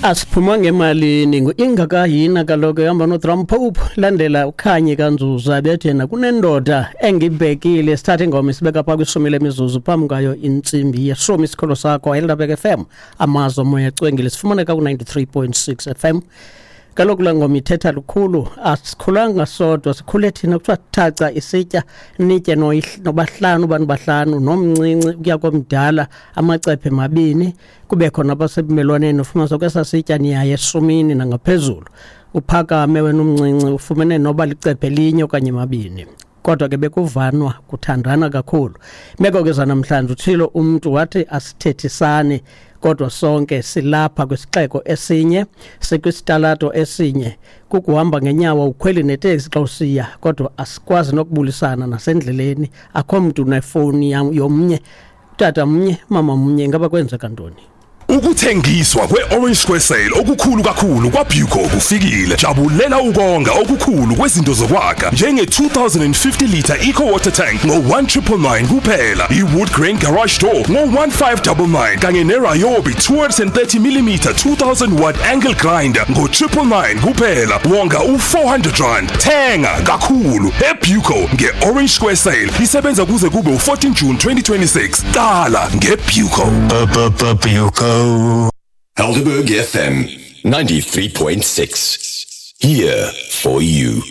Asiphuma ngemalini ngu-ingakahina kaloku ehamba noDrum Pope landela uKhanyi kaNzuza bethi yena kunendoda engibhekile. Sithatha ingoma isibeka phaa kwishumi lemizuzu phambi kwayo intsimbi yeshumi. Isikholo sakho Helderberg FM, amazwi omoya ecwengile, sifumaneka ku-93.6 FM. Kaloku laa ngoma ithetha lukhulu, asikhulanga sodwa, sikhule thina kuthiwa thaca isitya nitye nobahlanu, abantu bahlanu, nomncinci ukuya komdala, amacephe mabini, kube khona abasebumelwaneni. Ufumanisa kwesaa sitya niyaye eshumini nangaphezulu, uphakame wena umncinci ufumene noba licephe elinye okanye mabini, kodwa ke bekuvanwa kuthandana kakhulu. Meko ke zanamhlanje, utshilo umntu wathi asithethisani, kodwa sonke silapha kwisixeko esinye, sikwisitalato esinye, kukuhamba ngenyawo ukhweli neteksi xa usiya, kodwa asikwazi nokubulisana nasendleleni, akho mntu nefowuni yomnye, tata mnye, mama mnye. Ingaba kwenzeka ntoni? Ukuthengiswa kwe-Orange Square Sale okukhulu kakhulu kwaBuco kufikile. Jabulela ukonga okukhulu kwezinto zokwakha njenge-2050 litre Eco Water Tank ngo-1999 kuphela, i-Wood Grain Garage Door ngo-1599 kanye ne-Ryobi 230 mm 2000 watt angle grinder ngo-999 kuphela. Wonga u-R400. Thenga kakhulu eBuco nge-Orange Square Sale. Isebenza kuze kube u-14 June 2026. Qala ngeBuco. Buco. Helderberg FM 93.6. Here for you.